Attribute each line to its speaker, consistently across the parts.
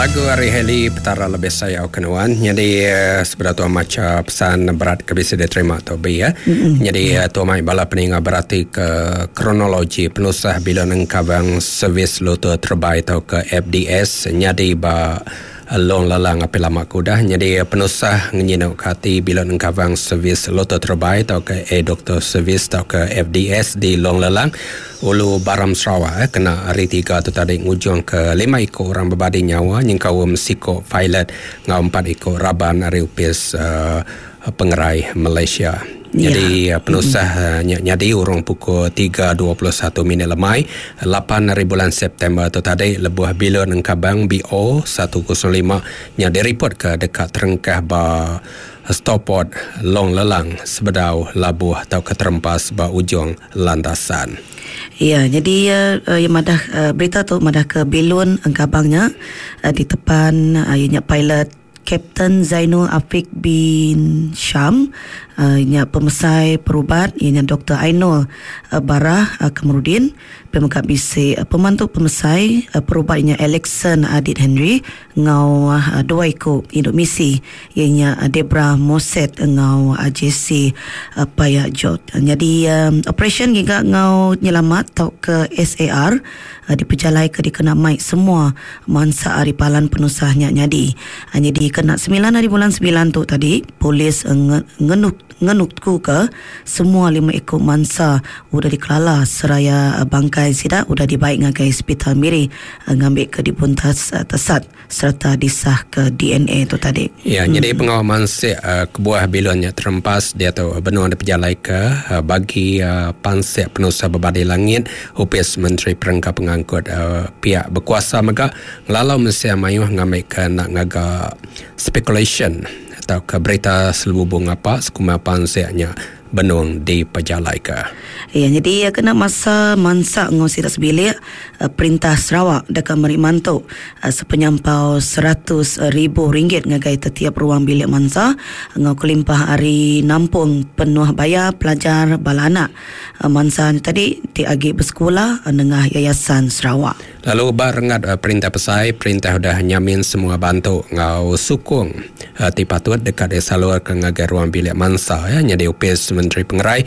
Speaker 1: Lagu ari Hailey Petara Lebih Sayau Ke Nuan. Nyadi sebedau tua macha pesan berat ke bisi diterima tu bi ya. Nyadi tua mai bala peninga berati ke kronologi penusah bila nengkabang servis lutur terebai tauka FDS nyadi ba Long Lelang api lama ke udah nyadi penusah ngenyinu ke ati bila nengkabang servis lutur terebai tauka A-Doctor Service tauka FDS di Long Lelang Ulu Baram Sarawak kena Hari Tiga tu tadi ngujungka lima iku orang bebadi nyawa nyengkaum siku pilot enggau empat iku raban ari Opis Pengerai Malaysia. Nyadi penusah nya nyadi urung pukul 3.21 minit lemai lapan hari bulan September tu tadi lebuh bilun engkabang BO 105 nya diripotka deka terengkah ba Stoport Long Lelang sebedau labuh tauka terempas ba ujung landasan.
Speaker 2: Ya, nyadi iya madah berita tu madahka bilun engkabang nya ditepan iya nya pilot Kapten Zainul Afiq bin Sham nya pemesai perubat iya nya Doktor Ainul Barah Kamarudin pia mega bisi pemantu pemesai perubat iya nya Alexson Adit Henry enggau dua iku indu misi iya nya Debra Moset enggau Jesse Paya Jot. Nyadi operasyen ngiga enggau nyelamat tauka SAR dipejalaika dikena mai semua Mansa ari palan penusah nya nyadi. Nyadi kena semilan ari bulan semilan tu tadi, polis ngenukuka semua lima iku mansa udah dikelala seraya bangkai sida udah dibai ngagai Sepital Miri ngambika dibuntas tesat sereta disahka DNA tu tadi.
Speaker 1: Ya, nyadi pengawa mansik kebuah bilun nya terempas diatu benung dipejalaika bagi pansik penusah bebadi langit Opis Menteri Perengka Pengangkut piak bekuasa mega ngelalau mensia mayuh ngambika enda ngaga spekulasyen tauka berita selebubu ngapa sekumbang pansik nya benung dipejalaika.
Speaker 2: Iya nyadi iya kena masa mansa enggau sida sebilik, Perintah Sarawak deka meri mantu sepenyampau 100,000 ringgit ngagai tetiap ruang bilik mansa enggau kelimpah ari nampung penuh bayar pelajar bala anak. Mansa nya tadi ti agi besekula nengah Yayasan Sarawak.
Speaker 1: Lalu ba renggat perintah besai, perintah udah nyamin semua bantu enggau sukung ti patut deka disalurka ngagai ruang bilik mansa iya nyadi Opis Menteri Pengerai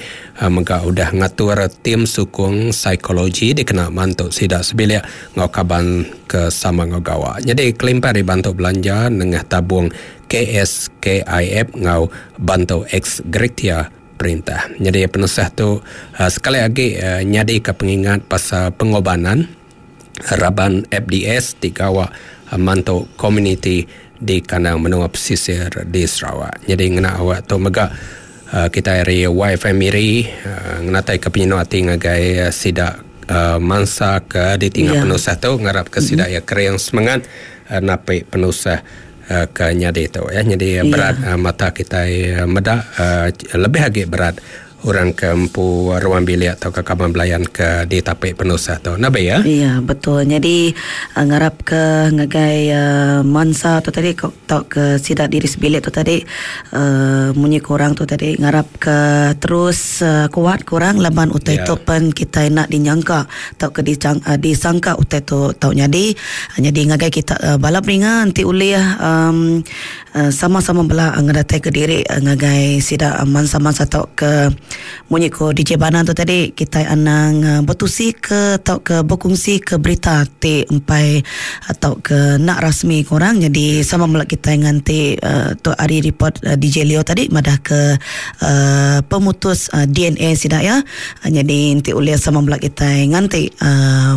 Speaker 1: mega udah ngatur tim sukung psikologi dikena mantu sida sebilik enggau kaban ke sama enggau gawa. Nyadi kelimpah ari bantu belanja nengah tabung KSKIF enggau bantu ex gratia, perintah. Nyadi penusah tu sekali agi nyadika pengingat pasal pengobanan raban FDS ti gawa mantu komuniti di kandang menua pesisir di Sarawak. Nyadi ngena awak tu mega kitai ari YFM Miri ngenataika penyinu ati ngagai sida mansa ke ditinggal penusah tu ngarapka sida iya kering semengat napi penusah ke nyadi tu ya nyadi berat mata kitai meda lebih agi berat orang ke empu ruang bilik tauka kaban belayan ke ditapi penusah tu nah bei ya.
Speaker 2: Ya betul nyadi ngarap ke ngagai mansa tu tadi tauka sida diri sebilik tu tadi munyi ke orang tu tadi ngarap ke terus kuat ke orang laban utai tu pen kitai enda dinyangka tauka disangka utai tu tau nyadi. Nyadi ngagai kita bala peninga enti ulih um sama-sama bela ngedatai ke diri ngagai sida mansa-mansa tauka munyi ko DJ Banan tu tadi kitai anang betusi ke tauka bekungsi ke berita ti empai tauka enda rasmi ke orang nyadi sama bela kitai nganti tu ari report DJ Leo tadi madah ke pemutus DNA sida iya. Nyadi enti ulih sama bela kitai nganti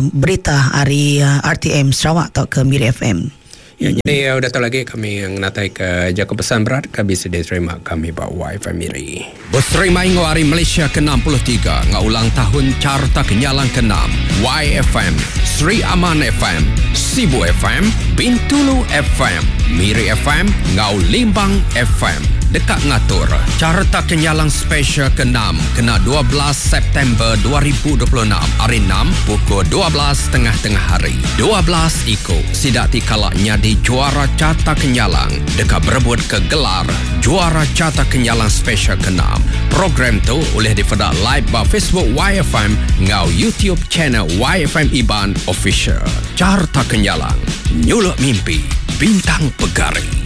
Speaker 2: berita ari RTM Sarawak tauka Miri FM.
Speaker 1: Ya, nyadi udah tu lagi kami ngenatai ke jaku pesan berat ke bisi diterima kami ba YFM Miri.
Speaker 3: Beterima enggau Hari Malaysia ke 63 enggau ulang tahun Carta Kenyalang ke 6, YFM, Sri Aman FM, Sibu FM, Bintulu FM, Miri FM enggau Limbang FM deka ngatur Carta Kenyalang Special ke enam kena 12 September 2026 ari enam pukul 12 tengah-tengah hari. 12 iku sida ti kala nyadi juara Carta Kenyalang deka berebut ke gelar Juara Carta Kenyalang Special ke enam. Program tu ulih dipeda live ba Facebook YFM enggau YouTube channel YFM Iban Official. Carta Kenyalang, nyuluk mimpi. Bintang Pegari.